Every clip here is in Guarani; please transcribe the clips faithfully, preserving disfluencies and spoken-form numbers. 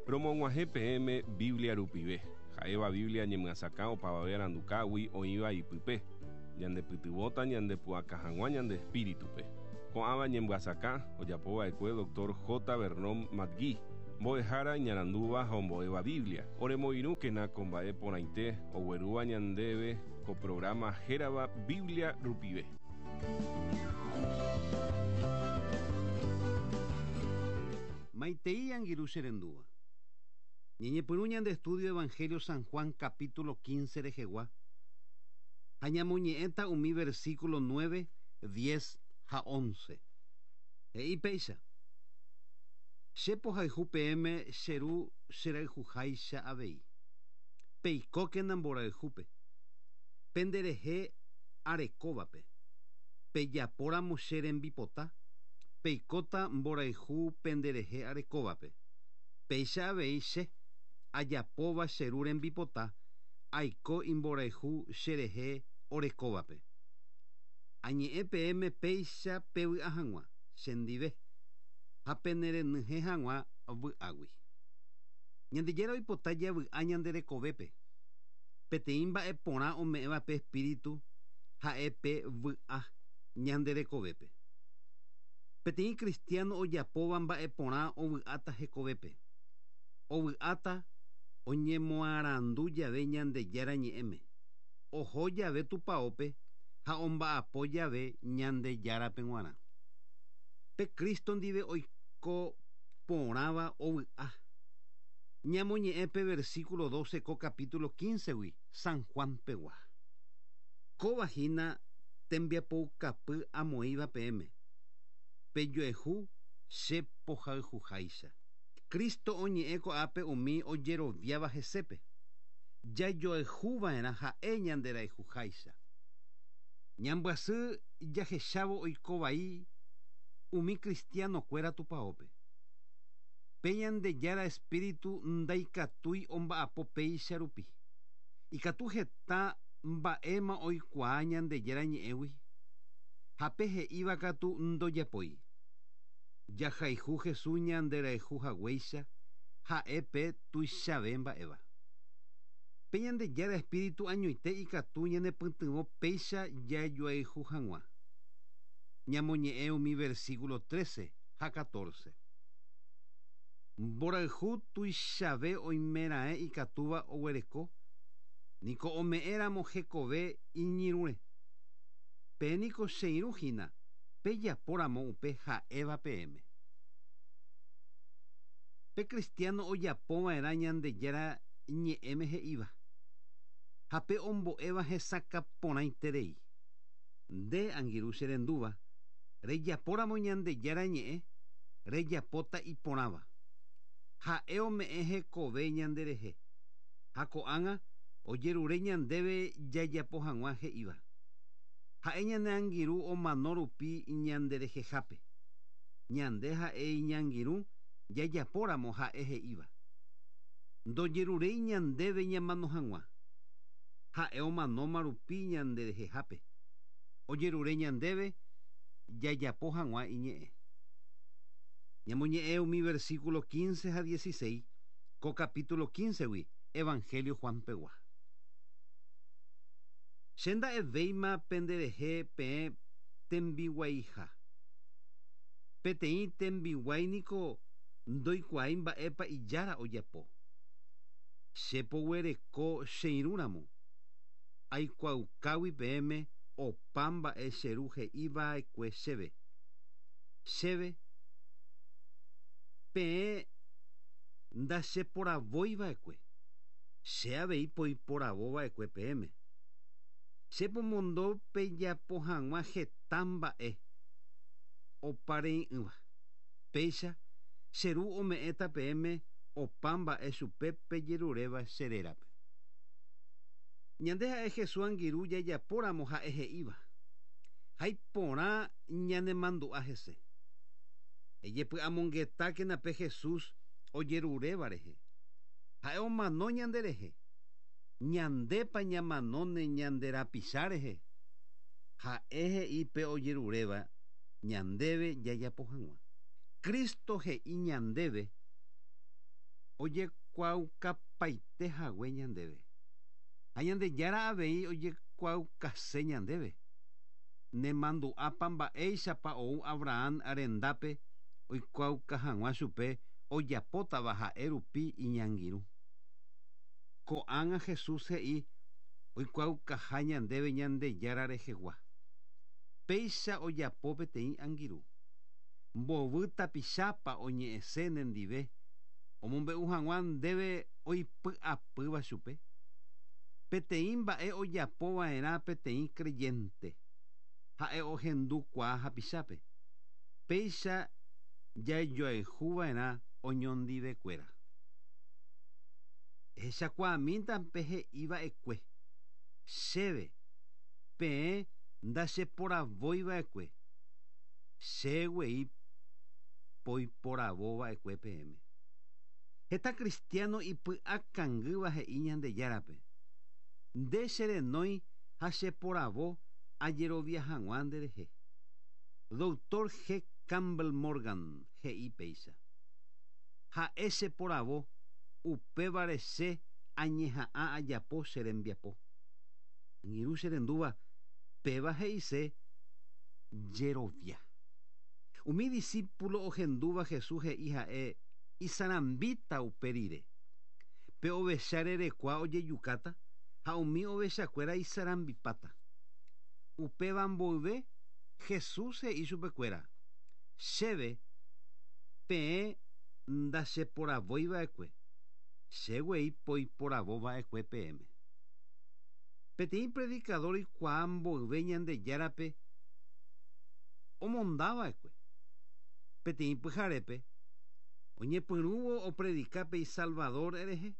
Romog̃uahẽ peẽme Biblia rupive. Ha'éva Biblia ñemyasakã opavave arandukágui oĩva ipype. Ñandepytyvõta ñandepu'aka hag̃ua ñande espíritupe. Ko'ãva ñemyasakã ojapova'ekue doctor J. Vernon McGee, mbo'ehára iñarandúva ha ombo'éva Biblia. Oremoirũkena ko mba'e porãite oguerúva ñandéve ko programa hérava Biblia rupive. Maitei angirũ che rendúva. Ñañepyrũ ñande estudio Evangelio San Juan capítulo quince rehegua. Ha ñamoñe'ẽta umi versículo nueve, diez ha once. He'i péicha. Che pohayhu peẽme che ru cherayhuháicha avei. Peikókena mborayhúpe. Penderehe arekóvape. Pejapóramo che rembipota, peikóta mborayhu penderehe arekóvape. Péicha avei che ajapóva che ru rembipota, aiko imborayhu cherehe orekóvape. Añe'ẽ peẽme péicha pevy'a hag̃ua chendive ha penerenyhẽ hag̃ua vy'águi. Ñandejára oipota javy'a ñande rekovépe. Peteĩ mba'e porã ome'ẽva pe espíritu ha'e pe vy'a ñande rekovépe. Peteĩ cristiano ojapóva mba'e porã ovy'áta hekovépe. Ovy'áta oñemoarandu jave Ñandejára ñe'ẽme. Oho jave tupaópe ha omba'apo jave Ñandejárape g̃uarã. Pe Cristo ndive oiko porãva ovy'a. Ñamoñe'ẽ pe versículo doce ko capítulo quince gui San Juan pegua. Kóva hína tembiapoukapy amoĩva peẽme. Pejoehu che pohayhuháicha. Cristo oñe'ẽ ko'ápe umi ojeroviáva hesépe. Jajoehuva'erã ha'e ñanderayhuháicha. Ñambyasy jahechávo oikovai umi cristiano-kuéra tupaópe. Pe Ñandejára espíritu ndaikatúi omba'apo péicha rupi. Ikatu heta mba'éma oikuaa Ñandejára ñe'ẽgui. Ha pe he'íva katu ndojapói. Jahayhu Jesús ñanderayhu haguéicha ha'e pe tuichave mba'éva. Pe Ñandejára espíritu añoite ikatu ñanepytyvõ péicha jajoayhu hag̃ua. Ñamoñe'ẽ umi versículo trece ha catorce. Mborayhu tuichave oimeraẽ ikatúva oguereko, niko ome'ẽramo hekove iñirũre. Pe niko che irũ hína, pejapóramo upe ha'éva peẽme. Pe cristiano ojapova'erã Ñandejára ñe'ẽme he'íva. Ha pe ombo'éva hesakã porãiterei. Nde angirũ che rendúva, rejapóramo Ñandejára ñe'ẽ, rejapóta iporãva. Ha'e ome'ẽ hekove ñanderehe. Ha ko'ág̃a ojerure ñandéve jajapo hag̃ua he'íva. Ha'e ñane angirũ omano rupi ñanderehehápe. Ñande ha'e iñangirũ jajapóramo ha'e he'íva. Ndojeruréi ñandéve ñamano hag̃ua. Ha'e omanóma rupi ñanderehehápe. Ojerure ñandéve jajapo hag̃ua iñe'ẽ. Ñamoñe'ẽ umi versículo quince ha dieciséis ko capítulo quince gui Evangelio Juan pegua. Che nda'evéima penderehe peẽ tembiguaiha. Peteĩ tembiguái niko ndoikuaái mba'épa ijára ojapo. Che poguereko che irũramo. Aikuaukágui peẽme opa mba'e che ru he'iva'ekue chéve. Chéve peẽ ndacheporavóiva'ekue. Che avei poiporavóva'ekue peẽme. Che pomondo pejapo hag̃ua heta mba'e oparei'ỹva. Péicha che ru ome'ẽta peẽme opa mba'e chupe pejeruréva che rérape. Ñande ha'e Jesús angirũ jajapóramo ha'e he'íva. Ha iporã ñanemandu'a hese. Ejepy'amongetákena pe Jesús ojeruréva rehe. Ha'e omano ñanderehe. Ñandépa ñamanóne ñande rapicha rehe. Ha'e he'i pe ojeruréva ñandéve jajapo hag̃ua. Cristo he'i ñandéve Ojekuaaukaipaite hague ñandéve. Ha Ñandejára avei ojekuaaukase ñandéve. Nemandu'ápa mba'éichapa ou Abraham rendápe oikuaauka hag̃ua chupe ojapótava ha'e rupi iñangirũ. Ko'ág̃a Jesús he'i oikuaaukaha ñandéve Ñandejára rehegua. Péicha ojapo peteĩ angirũ. Mbovy tapichápa oñe'ẽse nendive omombe'u hag̃ua ndéve oipy'apýva chupe. Peteĩ mba'e ojapova'erã peteĩ creyente. Ha'e ohendukuaa hapichápe. Péicha jajoayhuva'erã oñondivekuéra. Ehechakuaamínta he'iva'ekue. Chéve, peẽ ndacheporavoiva'ekue. Che guei poiporavova'ekue peẽme. Heta cristiano ipy'akangýva he'i Ñandejárape. Nde cherenói ha cheporavo ajerovia hag̃ua nderehe. Doctor G. Campbell Morgan he'i péicha. Ha'e cheporavo upévare che añeha'ã ajapo che rembiapo. Angirũ cherendúva péva he'ise jerovia. Umi discípulo ohendúva Jesús he'i ha'e isarambíta upe rire. Pe ovecha rerekua ojejukáta ha umi ovechakuéra isarambipáta. Upéva mboyve Jesús he'i chupekuéra. Chéve peẽ ndacheporavoiva'ekue. Che guei poiporavova'ekue peẽme. Peteĩ predicador oikuaa mboyve Ñandejárape omondava'ekue. Peteĩ pyharépe oñepyrũvo opredika pe Salvador rehe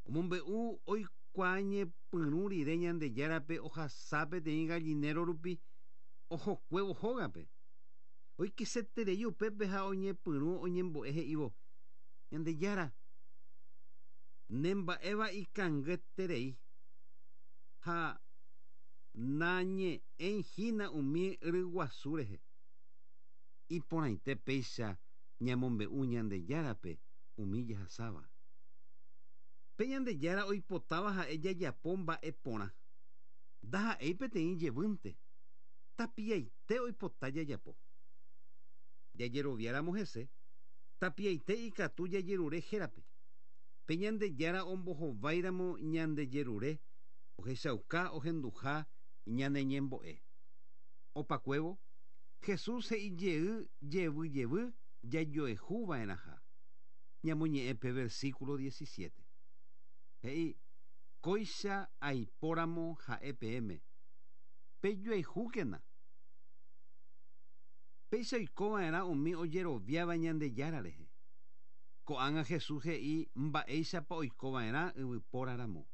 omombe'u oikuaa ñepyrũ rire Ñandejárape ohasa peteĩ gallinero rupi ohokuévo hógape. Oikeseterei upépe ha oñepyrũ oñembo'e he'ívo Ñandejára nemba'éva ikangyeterei ha nañe'ẽihína umi ryguasu rehe. Iporãite péicha ñamombe'u Ñandejárape umi jahasáva. Pe Ñandejára oipotáva ha'e jajapo mba'e porã. Ndaha'éi peteĩ jevýnte. Tapiaite oipota jajapo. Jajeroviáramo hese, tapiaite ikatu jajerure hérape. Pe Ñandejára ombohováiramo ñandejerure ohechauka ohenduha ñaneñembo'e. Opakuévo, Jesús he'i jey jevy jevy jajoehuva'erãha. Ñamoñe'ẽ pe versículo diecisiete. He'i, kóicha aipóramo ha'e peẽme. Pejoehúkena. Péicha oikova'erã umi ojeroviáva Ñandejára rehe. Ko'ág̃a Jesús he'i mba'éichapa oikova'erã yvypóraramo.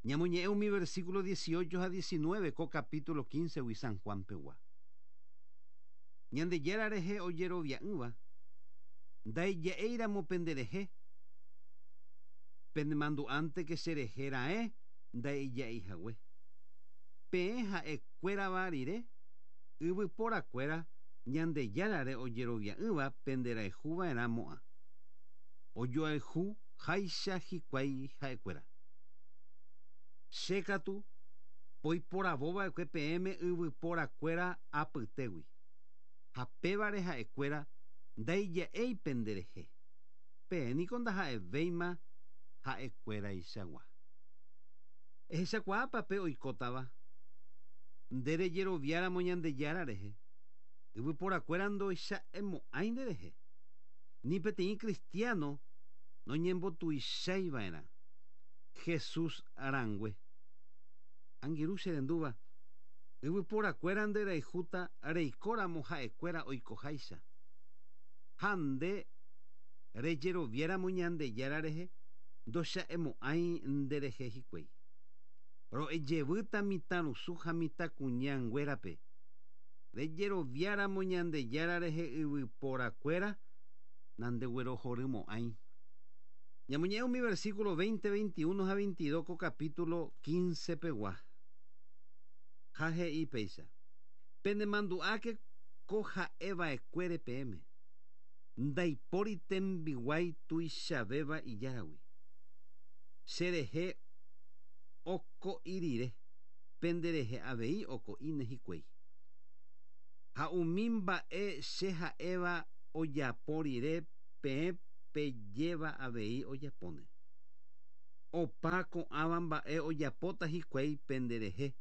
Ñamoñe'ẽ umi versículo dieciocho ha diecinueve ko capítulo quince gui San Juan pegua. Ñandejára rehe ojerovia'ỹva ndaija'éiramo penderehe. Penemandu'ánteke cherehe raẽ ndaija'eihague. Peẽ ha'ekuérava rire yvyporakuéra Ñandejárare ojerovia'ỹva penderayhuva'erãmo'ã. Ojoayhu háicha hikuái ha'ekuéra. Che katu poiporavova'ekue peẽme yvyporakuéra apytégui. Ha pévare ha'ekuéra ndaija'éi penderehe. Peẽ niko ndaha'evéima ha'ekuéraichagua. Ehechakuaápa pe oikótava nde rejeroviáramo Ñandejára rehe. Yvyporakuéra ndoicha'emo'ãi nderehe. Ni peteĩ cristiano noñembotuichaiva'erã. Jesús rangue. Angirũ cherendúva yvyporakuéra nderayhúta reikóramo ha'ekuéra oikoháicha. Ha nde rejeroviáramo Ñandejára rehe ndocha'emo'ãi nderehe hikuái. Ro'ejevýta mitãrusu ha mitãkuñanguérape. Rejeroviáramo Ñandejára rehe yvyporakuéra nandeguerohorymo'ãi. Ñamoñe'ẽ umi versículo veinte, veintiuno ha veintidós ko capítulo quince pegua. Ha he'i péicha. Penemandu'áke ko ha'eva'ekuére peẽme. Ndaipóri tembiguái tuichavéva ijáragui. Cherehe oko'i rire, penderehe avei oko'íne hikuái. Ha umi mba'e che ha'éva ojapo rire peẽ pejéva avei ojapóne. Opa ko'ãva mba'e ojapóta hikuái penderehe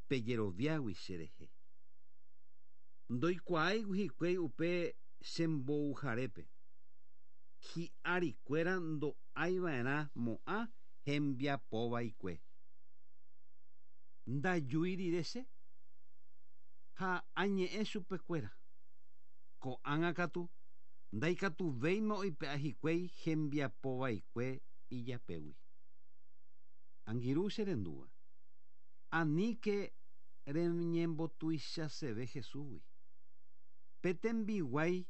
pejeroviágui cherehe. Ndoikuaáigui hikuái upe chembouharépe. Hi'arikuéra ndo'aiva'erã mo'ã hembiapovaikue. Ndajúi rire che ha añe'ẽ chupekuéra. Ko'ág̃a katu ndaikatuvéima oipe'a hikuái hembiapovaikue ijapégui. Angirũ cherendúva. Aníke reñembotuichaseve Jesúsgui. Pe tembiguái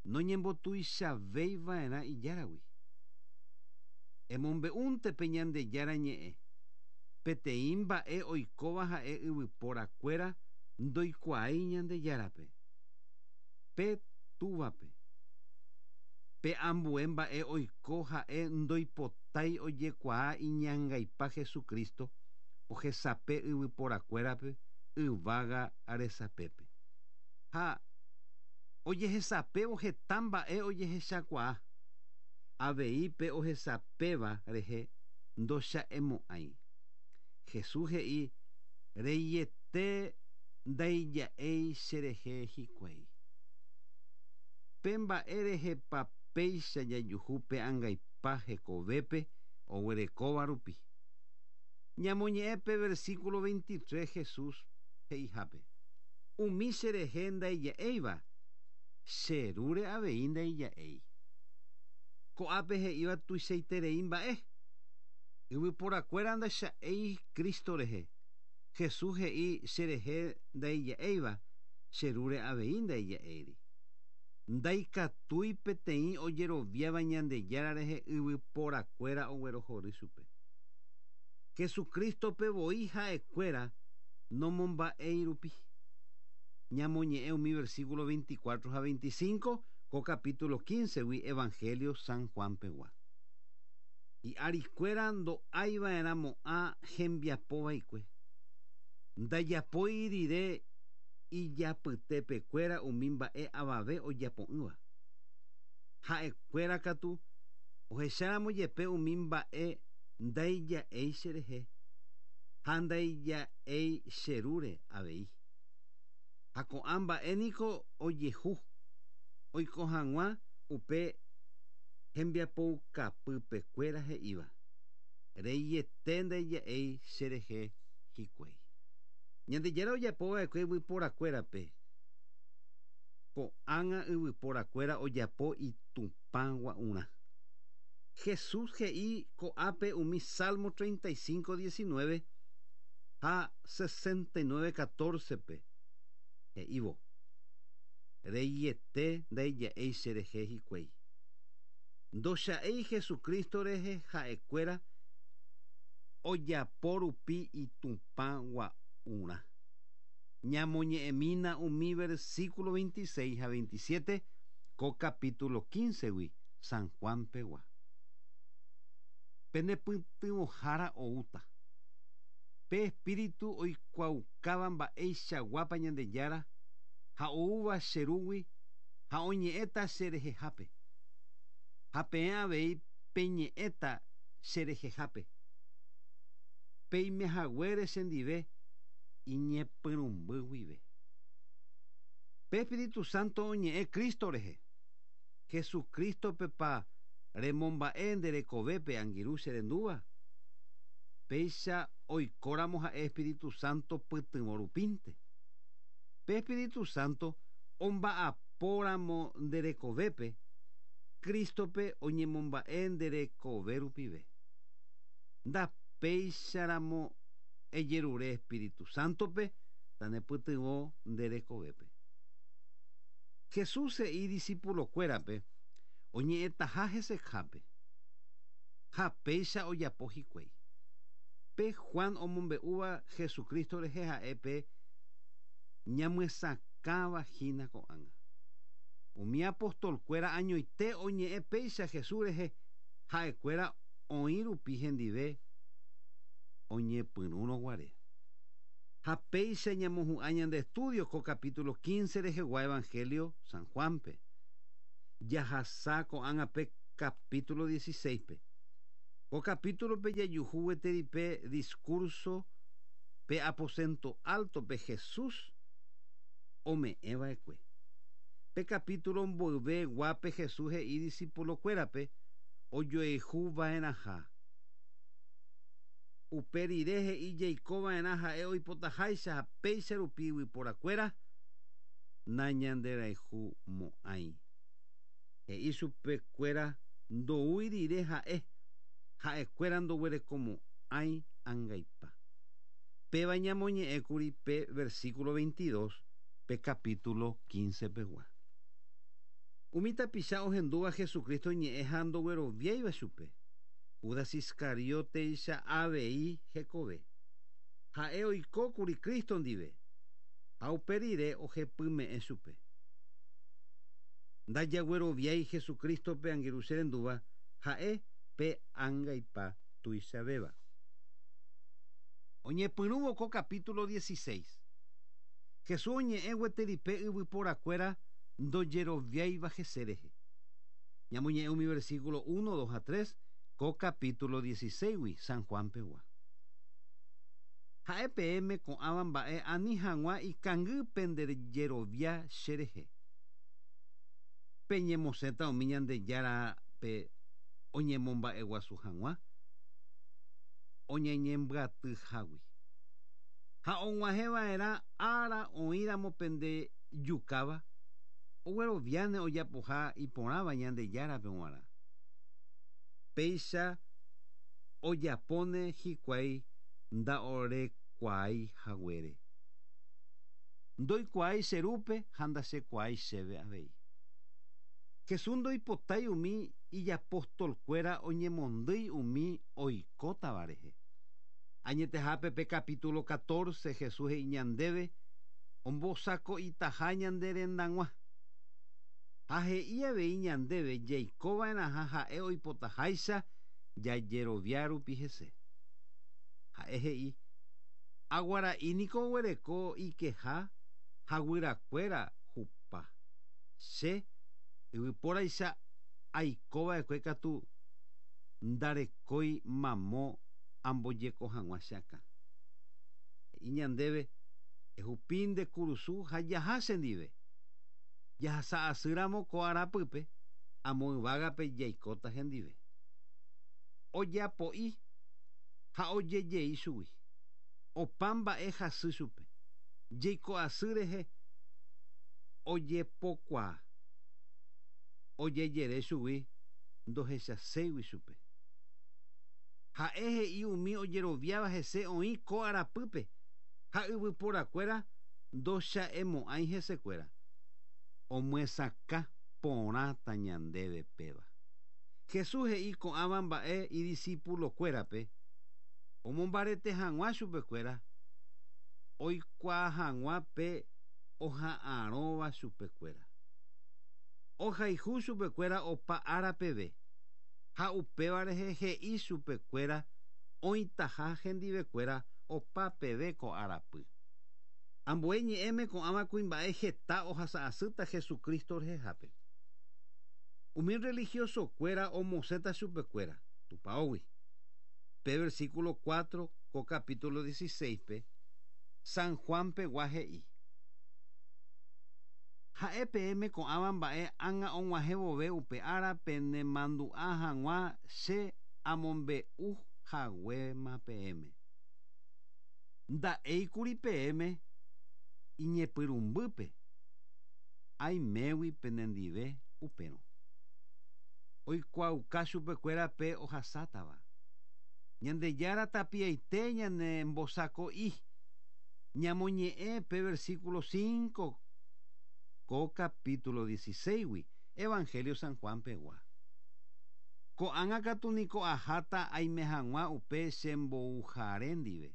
noñembotuichavéiva'erã ijáragui. Emombe'únte pe Ñandejára ñe'ẽ. Peteĩ mba'e oikóva ha'e yvyporakuéra ndoikuaái Ñandejárape. Pe túvape. Pe ambue mba'e oiko ha'e ndoipotái ojekuaa iñangaipa Jesucristo ohesape yvyporakuérape yvága resapépe. Ha ojehesapévo heta mba'e ojehechakuaa. Avei pe ohesapéva rehe ndocha'emo'ãi. Jesús he'i reiete ndaija'éi cherehe hikuái. Pe mba'e rehepa péicha jajuhu pe angaipa hekovépe oguerekóva rupi. Ñamoñe'ẽ pe versículo veintitrés Jesús he'ihápe. Umi cherehe ndaija'éiva, cherúre avei ndaija'éi. Ko'ápe he'íva tuichaiterei mba'e. Yvyporakuéra ndacha'éi Cristo rehe. Jesús he'i cherehe ndaija'éiva, cherúre avei ndaija'éiri. Ndaikatúi peteĩ ojeroviáva Ñandejára rehe yvyporakuéra oguerohory chupe. Jesucristo-pe voi ha'ekuéra nomomba'éi rupi. Ñamoñe'ẽ umi versículo veinticuatro ha veinticinco ko capítulo quince-gui Evangelio San Juan pegua. Hi'arikuéra ndo'aiva'erãmo'ã hembiapovaikue. Ndajapói rire ijapytepekuéra umi mba'e avave ojapo'ỹva. Ha'ekuéra katu ohecháramo jepe umi mba'e ndaija'éi cherehe ha ndaija'éi cherúre avei. Ha ko'ã mba'e niko ojehu oiko hag̃ua upe hembiapoukapypekuéra he'íva. Reiete ndaija'éi cherehe hikuái. Ñandejára ojapova'ekue yvyporakuérape. Ko'ág̃a yvyporakuéra ojapo itupãgua'urã. Jesús he'i ko'ápe umi Salmo treinta y cinco, diecinueve ha sesenta y nueve, catorce-pe. He'ívo. Reiete ndaija'éi cherehe hikuái. Ndocha'éi Jesucristo rehe ha'ekuéra ojapo rupi itupãgua'urã. Ñamoñe'ẽmína umi versículo veintiséis ha veintisiete ko capítulo quince-gui San Juan pegua. Penepytyvõhára oúta. Pe espíritu oikuaukáva mba'eichaguápa Ñandejára ha oúva cherúgui ha oñe'ẽta cherehehápe. Ha peẽ avei peñe'ẽta cherehehápe. Peimehaguére chendive iñepyrũmby guive. Pe Espíritu Santo oñe'ẽ Cristo rehe. Jesucristo-pepa remomba'e nderekovépe angirũ cherendúva. Péicha oikóramo ha'e Espíritu Santo pytyvõ rupínte. Pe Espíritu Santo omba'apóramo nderekovépe, Cristo-pe oñemomba'e nderekove rupive. Ndapéicharamo ejerure Espíritu Santo-pe tanepytyvõ nderekovépe. Jesús he'i discípulo-kuérape oñe'ẽtaha hesehápe. Ha péicha ojapo hikuái. Pe Juan omombe'úva Jesucristo rehe ha'e pe ñamyesakãva hína ko'ág̃a. Umi apostolkuéra añoite oñe'ẽ péicha Jesús rehe ha'ekuéra oĩ rupi hendive oñepyrũrõguare. Ha péicha ñamohu'ã ñande estudio ko capítulo quince rehegua Evangelio San Juanpe. Jahasa ko'ág̃a pe capítulo dieciséis-pe. Ko capítulo-pe jajuhu gueteri pe discurso pe aposento alto pe Jesús ome'ẽva'ekue. Pe capítulo mboyve guápe Jesús he'i discípulo-kuérape ojoehuva'erãha. Upe rire he'i jaikova'erã ha'e oipotaháicha ha péicha rupi yvyporakuéra nañanderayhumo'ãi. He'i chupekuéra ndoúi rire ha'e ha'ekuéra ndoguerekomo'ãi angaipa. Péva ñamoñe'ẽkuri pe versículo veintidós pe capítulo quince pegua. Umi tapicha ohendúva Jesucristo ñe'ẽ ha ndogueroviáiva chupe. Judas Iscariote-icha avei hekove. Ha'e oikókuri Cristo ndive ha upe rire ohepyme'ẽ chupe. Ndajagueroviái Jesucristo-pe angirũ che rendúva ha'e pe angaipa tuichavéva. Oñepyrũvo ko capítulo dieciséis. Jesús oñe'ẽ gueteri pe yvyporakuéra ndojeroviáiva hese rehe. Ñamoñe'ẽ umi versículo uno, dos a tres ko capítulo dieciséis-gui San Juan pegua. Ha'e peẽme ko'ãva mba'e ani hag̃ua ikangy pendejerovia che rehe. Peñemosẽta umi Ñandejárape oñemomba'eguasu hag̃ua oñeñembyatyhágui. Ha og̃uahẽva'erã ára oĩramo pendejukáva ogueroviáne ojapoha iporãva Ñandejárape g̃uarã. Péicha ojapóne hikuái nda'orekuaái haguére. Ndoikuaái che rúpe ha ndachekuaái chéve avei. Jesús ndoipotái umi ijapostolkuéra oñemondýi umi oikótava rehe. Añetehápe pe capítulo catorce Jesús he'i ñandéve ombosako'itaha ñande rendag̃ua. Ha he'i avei ñandéve jaikova'erãha ha'e oipotaháicha jajerovia rupi hese. Ha'e he'i aguara'i niko oguereko ikeha ha guyrakuéra hupa. Che yvypóraicha aikova'ekue katu ndarekói mamo ambojeko hag̃ua che akã. He'i ñandéve ehupi nde kurusu ha jaha chendive. Jahasa asýramo ko arapýpe amo yvágape jaikóta hendive. Ojapo'i ha ojejei chugui. Opa mba'e hasy chupe. Jeiko asy rehe ojepokuaa. Ojejere chugui ndohechaséigui chupe. Ha'e he'i umi ojeroviáva hese oĩ ko arapýpe ha yvyporakuéra ndocha'emo'ãi hesekuéra. Omyesakã porãta ñandéve péva. Jesús he'i ko'ãva mba'e idiscípulo-kuérape omombarete hag̃ua chupekuéra oikuaa hag̃ua pe oha'arõva chupekuéra. Ohayhu chupekuéra opa ára peve ha upéva rehe he'i chupekuéra oĩtaha hendivekuéra opa peve ko arapy. Ambue ñe'ẽme ko'ãva kuimba'e heta ohasa'asýta Jesucristo rehehápe. Umi religioso-kuéra omosẽta chupekuéra tupãógui. Pe versículo cuatro ko capítulo dieciséis-pe San Juan pegua he'i. Ha'e peẽme ko'ãva mba'e ág̃a og̃uahẽ vove upe ára penemandu'a hag̃ua che amombe'u haguéma peẽme. Nda'éikuri peẽme iñepyrũmbýpe aimégui penendive upérõ. Oikuaauka chupekuéra pe ohasátava. Ñandejára tapiaite ñanembosako'i. Ñamoñe'ẽ pe versículo cinco ko capítulo dieciséis-gui Evangelio San Juan pegua. Ko'ág̃a katu niko aháta aime hag̃ua upe chembouhare ndive.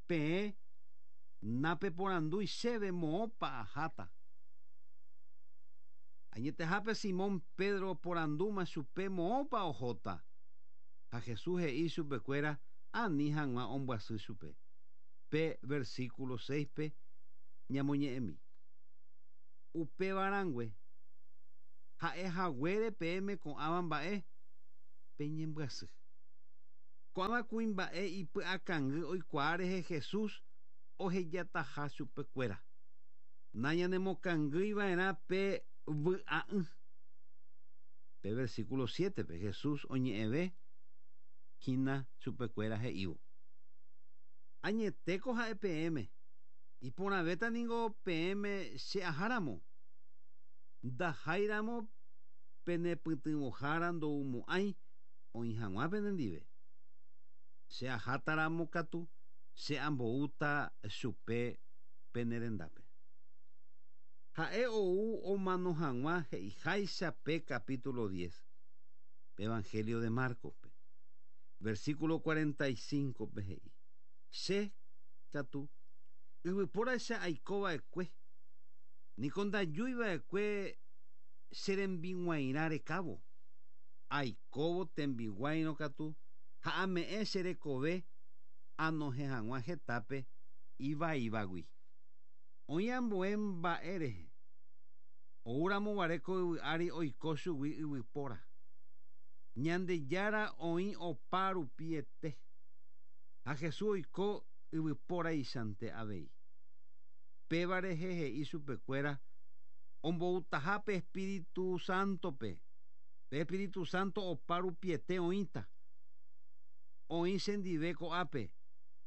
Peẽ napeporandúi chéve moõpa aháta. Añetehápe Simón Pedro oporandúma chupe moõpa ohóta. Ha Jesús he'i chupekuéra ani hag̃ua ombyasy chupe. Pe versículo seis-pe ñamoñe'ẽmi. Upévarãngue ha'ehaguére peẽme ko'ãva mba'e peñembyasy. Ko'ãva kuimba'e ipy'akangy oikuaa rehe Jesús ohejataha chupekuéra. Nañanemokangýiva'erã pe vy'a'ỹ. Pe versículo siete-pe Jesús oñe'ẽve hína chupekuéra he'ívo. Añetéko ha'e peẽme. Iporãvéta ningo peẽme che aháramo. Ndaháiramo penepytyvõhára ndoumo'ãi oĩ hag̃ua penendive. Che ahátaramo katu che amboúta chupe penerendápe. Ha'e ou omano hag̃ua he'iháicha pe capítulo diez, pe Evangelio de Marcos-pe. Versículo cuarenta y cinco-pe he'i. Che katu yvypóraicha aikova'ekue, niko ndajúiva'ekue che rembiguairã rekávo. Aikóvo tembiguairõ katu ha ame'ẽ che rekove anohẽ hag̃ua hetápe ivaívagui. Oĩ ambue mba'e rehe. Oúramo guare ko yvy ári oiko chugui yvypóra. Ñandejára oĩ opa rupiete. Ha Jesús oiko yvypóraichante avei. Péva rehe he'i chupekuéra omboutahápe Espíritu Santo-pe. Pe Espíritu Santo opa rupiete oĩta. Oĩ chendive ko'ápe,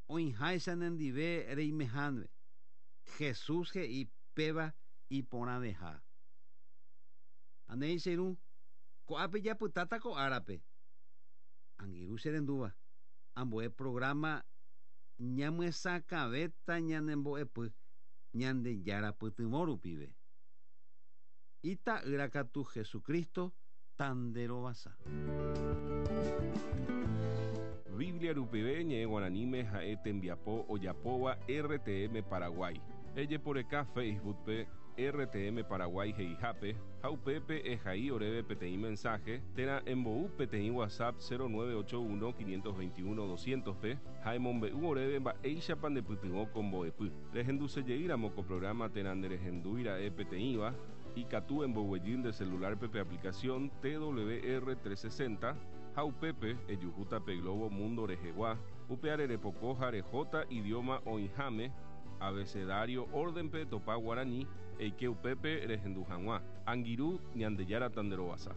oĩháicha nendive reimeháve. Jesús he'i péva iporãveha. Anéi che irũ, ko'ápe japytáta ko árape. Angirũ che rendúva, ambue programa ñamyesakãvéta ñanembo'epy Ñandejára pytyvõ rupive. Ita'ýra katu Jesucristo tanderovasa. Biblia rupive ñe'ẽ guaraníme ha'e tembiapo ojapóva R T M Paraguay. Ejeporeka Facebook-pe R T M Paraguay he'ihápe ha upépe ehai oréve peteĩ mensaje térã embou peteĩ WhatsApp cero nueve ocho uno quinientos veintiuno doscientos-pe ha emombe'u oréve mba'éichapa ndepytyvõ ko mbo'epy. Rehendusejeýramo ko programa térã nderehendúira'e peteĩva ikatu emboguejy nde celular-pe pe aplicación T W R trescientos sesenta ha upépe ejuhúta pe Globo Mundo rehegua upe arerepoko ha rehóta idioma oĩháme abecedario orden-pe topa guarani eike upépe rehendu hag̃ua. Angirũ Ñandejára tanderovasa.